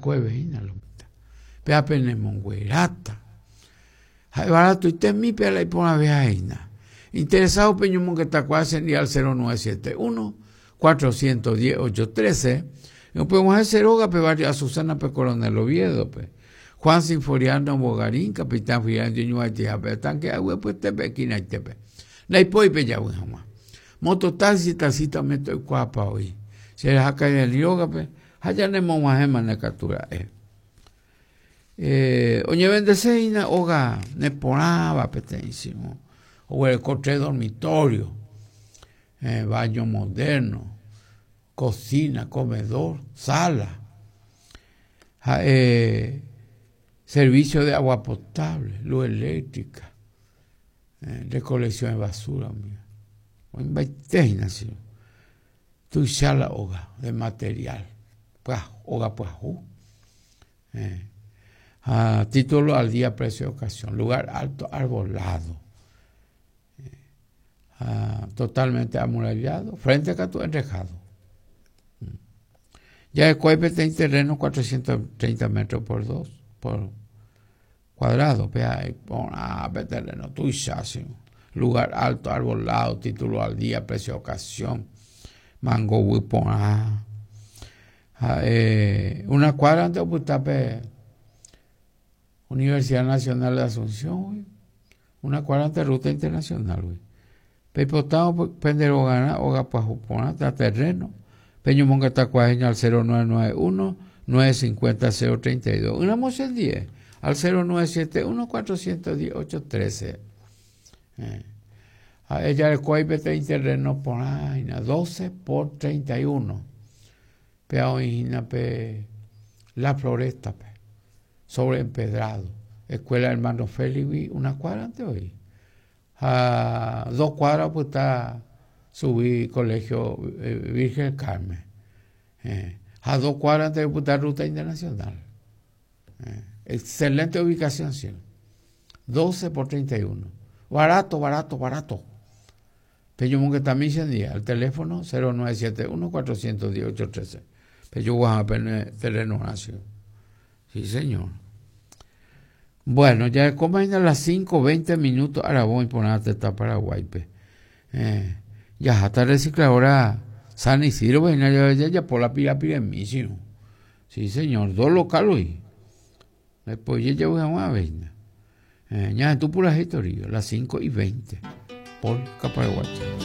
va'ekueve hína lo mitã. Péva penemongueráta. Ha'e baratoitemi péva la iporãveha hína. Interesado peñomongetakuaa che ndive al 0971 410 813 Upeg̃uahẽ che rógape barrio Azucena-pe Coronel Oviedo-pe. Juan Sinforiano Bogarín, Capitán Fidel oñoñuvaitihápe tanque aguepyetépe esquinaitépe. Ndaipói pejavy hag̃ua. Mototaxi, taxista umi toikuaápa oĩ. Che raha Kairani rógape ha ñanemog̃uahẽmane katu ra'e. Eh, oñevendese hína óga neporãva peteĩ sino oguereko tres dormitorio, eh, baño moderno, cocina, comedor, sala, ha'e servicio de agua potable, luz eléctrica, eh, recolección de basura umíva. Oĩmbaite hína che. Tuicha la óga de material, pyahu, óga pyahu. Eh. Ha título al día, precio de ocasión, lugar alto, arbolado. Eh. Ha totalmente amurallado, frente katu enrejado. Mm. Jahekuái peteĩ terreno 430 metros por 2 por cuadrado, pe iporã pe terreno tuicha, sí. Lugar alto, arbolado, título al día, precio de ocasión, mango guy porã. Ha'e una cuadra-nte opyta pe Universidad Nacional de Asunción-gui, una cuadra-nte Ruta Internacional-gui. Peipotárõ pende rogarã óga pyahu porã térã terreno, peñomongetakuaa hína al 0991 950 032. Ỹramo che ndie, al 0971 410 813. Eh. Ha'e jarekói peteĩ terreno porã hína, 12 por 31. Péva oĩ hína pe La Floresta-pe, sobre empedrado. Escuela Hermano Félix-gui una cuadra-nte oĩ. Ha dos cuadra opyta chugui colegio Virgen del Carmen. Eh. Ha dos cuadra-nte opyta Ruta Internacional. Eh. Excelente ubicación, sí. 12 por 31. Barato, barato, barato. Peñomongetami che ndie al teléfono 0971 410 813. Pejoguaha pene terrenorã, sí. Sí, señor. Bueno, jarekóma hína las 5:20 minutos aravo iporã tetã Paraguáipe. Eh, jaháta recicladora San Isidro hína jajapo la pirapiremi, sí. Sí, señor, dos local hoy. Después jejavy hag̃ua avei hína. Eh, ñahendu purahéi torío, las 5:20 por Paraguay.